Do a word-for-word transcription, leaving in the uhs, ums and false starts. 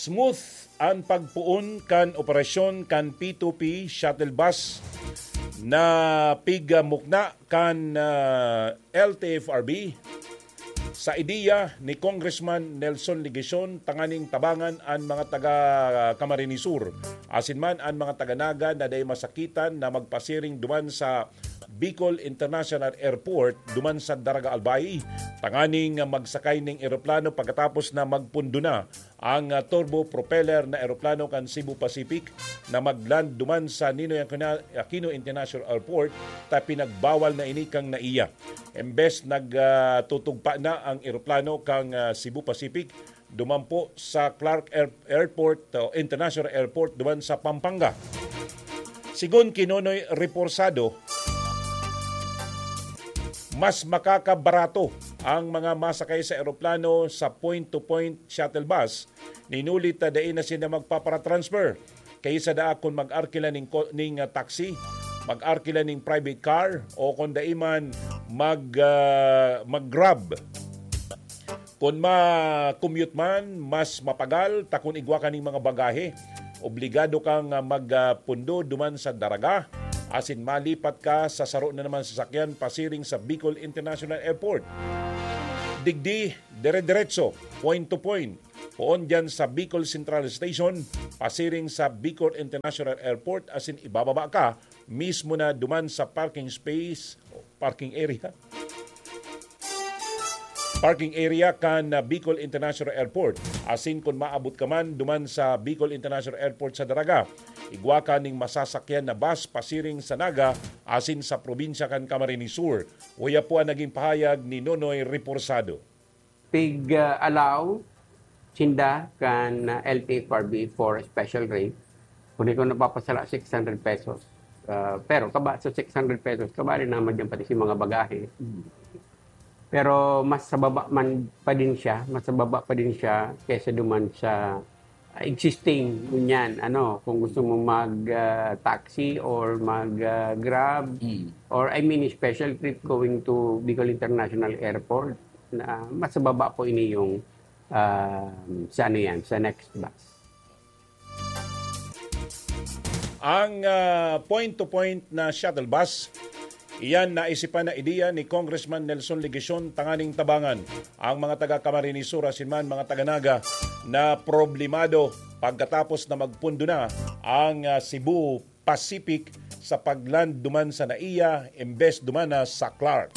Smooth an pagpoon kan operasyon kan P two P shuttle bus na pigmukna kan, ah, L T F R B sa ideya ni Congressman Nelson Legacion tanganing tabangan an mga taga Camarines Sur, asin man an mga taga Naga na dai masakitan na magpasiring duman sa Bicol International Airport duman sa Daraga Albay, tanganing magsakay ning eroplano pagkatapos na magpundo na ang, ah, turbo propeller na eroplano kan Cebu Pacific na magland duman sa Ninoy Aquino, Aquino International Airport, ta pinagbawal na ini kan NAIA. Embes nag, ah, tutugpa na ang eroplano kan, ah, Cebu Pacific duman po sa Clark Air-, Airport, o International Airport duman sa Pampanga. Sigon ki Nonoy Reporsado, mas makakabarato ang mga masakay sa eroplano sa point-to-point shuttle bus, ninuli ta dai na sinda magpaparatransfer. Kaysa daa kun mag-arkila ning ko-, ning, ah, taxi, mag-arkila ning private car, o kun dai man mag, ah, mag-Grab. Kun ma-commute man, mas mapagal, ta kun igwa ka ning mga bagahe, obligado kang, ah, magpundo duman sa Daraga, asin malipat ka sa saro na naman sasakyan pasiring sa Bicol International Airport. Digdi, dire-diretso, point to point. Poon diyan sa Bicol Central Station, pasiring sa Bicol International Airport, asin ibababa ka mismo na duman sa parking space, parking area. Parking area kan, ah, Bicol International Airport. Asin kun maabot ka man duman sa Bicol International Airport sa Daraga, igwa ka ning masasakyan na bus pasiring sa Naga asin sa probinsya kan Camarines Sur. Uya po ang naging pahayag ni Nonoy Reporsado. Pig, ah, allow sinda kan, ah, L T F R B for a special rate. Kung di ko napapasala, six hundred pesos. Ah, pero kaba-, sa six hundred pesos, kabali naman dyan pati si mga bagahe. Pero mas sa baba man pa din siya, mas sa baba pa din siya kaysa duman sa, ah, existing, ngunyan. Ano, kung gusto mo mag, ah, taxi or mag, ah, Grab, Mm. or I mean, special trip going to Bicol International Airport, na mas sa baba po ini yung, ah, sa ano yan, sa next bus. Ang, ah, point-to-point na shuttle bus, iyan naisipan na ideya ni Congressman Nelson Legacion tanganing tabangan ang mga taga Camarines Sur asin man mga taga Naga na problemado pagkatapos na magpundo na ang, ah, Cebu Pacific sa pagland duman sa NAIA, imbes duman na sa Clark.